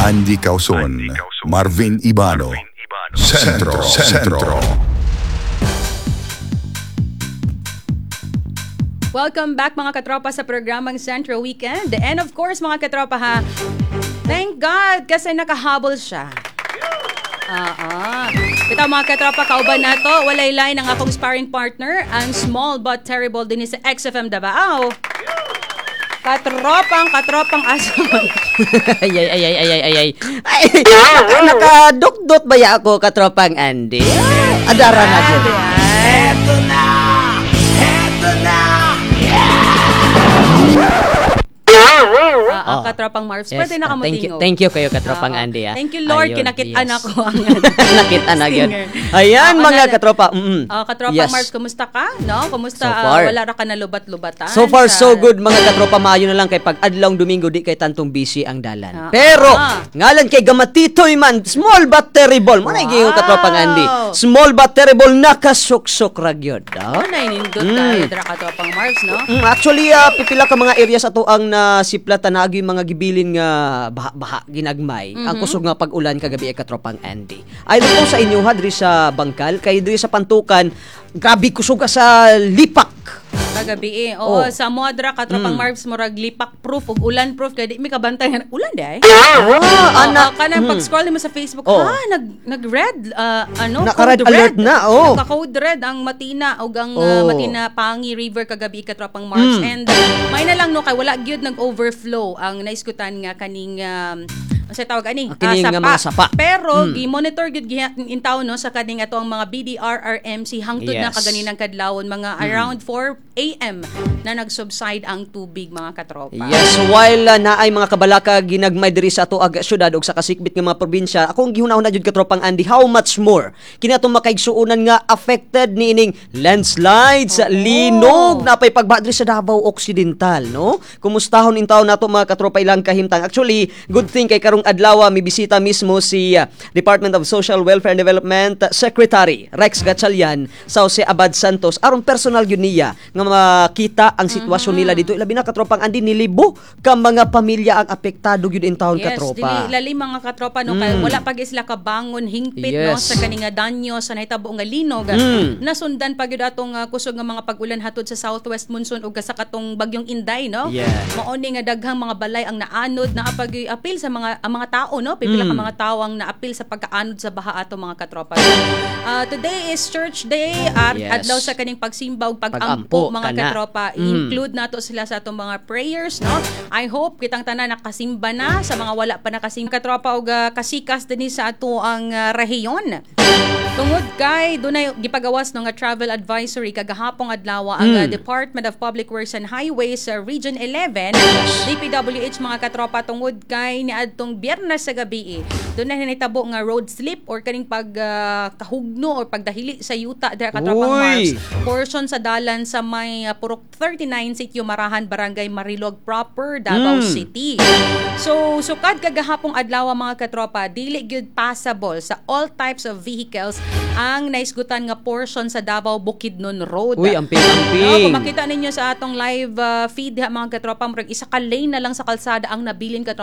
Andy Causon, Marvin Ibano, Sentro, Sentro. Welcome back, mga katropa, sa programang Central Weekend. And of course, mga katropa ha, thank God kasi nakahabol siya. Ah. Ito, mga katropa, kauban nato, walay lain ang akong sparring partner, ang small but terrible din sa XFM Davao. Katropang, katropang aso. Ay, ay, ay, ay, ay, ay, ay. Ay, nakadukdot ba ya ako, katropang Andy? Ay, adara na dyan. Eto na! Eto na! Ah, katropang Marvs, pwede na ka Thank you, motingog. Thank you kayo, katropang Andy. Ah. Thank you, Lord, Ayun, kinakitaan ako ang Nakita na yun. stinger. Ayan, mga katropa. Oh, katropang Marvs, kumusta ka? No? Kumusta? So far. Wala ra ka nalubat-lubatan? So far, so good, mga katropa. Maayo na lang kay pag adlawng Domingo, di kay tantong busy ang dalan. Pero, ngalan kay Gamatitoy man, small but terrible. Mo na wow, katropang Andy. Small but terrible, nakasuksok ra gyud. Ah. Oh, nainindot tayo dra, katropang Marvs, no? Actually, pipila ka mga areas ato ang nasiplatan na agi mga gibilin nga baha-baha ginagmay. Ang kusog nga pag-ulan kagabi ay, katropang Andy. Ay ko sa inyo ha diri sa Bangkal kay diri sa Pantukan, grabe kusog ka sa lipak. Kagabi eh. Oo, Oh. sa Modra, katropang Marvs, murag lipak proof ug ulan proof kay di mi kabantay nga ulan di ay. Ah, ana. Oo, kanang pag-scroll mo sa Facebook, ha, nag red ano, Naka-red code alert red. na, oh. Naka-code red ang Matina ug ang Matina Pangi River kagabi, katropang Marvs. And may na lang no kay wala gyud nag-overflow ang naiskutan nga kaning sa tawag ani? Ang kining Ah, nga mga sapa. Pero gi-monitor gyud in taon no sa kaning ato ang mga BDRRMC hangtod na kaganinang kadlawon, mga around 4 a.m. na nag-subside ang tubig, mga katropa. Yes, while naay mga kabalaka ginagmay diri sa ato ag syudad ug sa kasikbit nga mga probinsya, akong gihuna-huna jud, katropang Andy, how much more kini atong makaigsuonan nga affected niining landslides, linog, napay pagbaha diri sa Davao Occidental, no? Kumustahon in taon nato, mga katropa, ilang kahimtang. Actually, good thing kay karong adlaw mi bisita mismo si Department of Social Welfare and Development Secretary Rex Gatchalian sa Jose Abad Santos aron personal yun niya nga makita ang sitwasyon nila dito. Ilabi na, katropang Andy, nilibo ka mga pamilya ang apektado gyud in taon, katropa. Dili lali, mga katropa, no, kay wala pag isla kabangon hingpit no sa kaning nga danyo sa nahitabo nga linog. Nasundan pa gyud atong kusog nga mga pag-ulan hatod sa southwest monsoon ug sa katong bagyong Inday, no. Mao ni nga daghang mga balay ang naanod, naapag apil sa mga ang mga tao, no. Pipila ka mga tao ang naapil sa pagkaanod sa baha ato, mga katropa. So, today is church day at adlaw sa kaning pagsimba ug pagampo, Pagampo, mga kana. katropa. Include nato sila sa atong mga prayers, no. I hope kitang tanan nakasimba na. Sa mga wala pa nakasimba, katropa, og kasikas dinhi sa ato ang rehiyon. Tungod kay dunay gipagawas no nga travel advisory kagahapong adlaw ang Department of Public Works and Highways sa Region 11, DPWH, mga katropa, tungod kay niadtong Biyernes sa gabi eh, dunay nahitabo nga road slip or kaning pag kahugno or pagdahili sa yuta dira, katropang Uy! Mars, portion sa dalan sa may Purok 39, Sitio Marahan, Barangay Marilog Proper, Davao City. So, sukad kagahapong adlaw, mga katropa, dili gyud passable sa all types of vehicles ang naisgutan nga portion sa Davao Bukidnon Road. Uy, amping amping. No, kung makita ninyo sa atong live feed diha, mga katropa, murag isa ka lane na lang sa kalsada ang nabilin, katropa.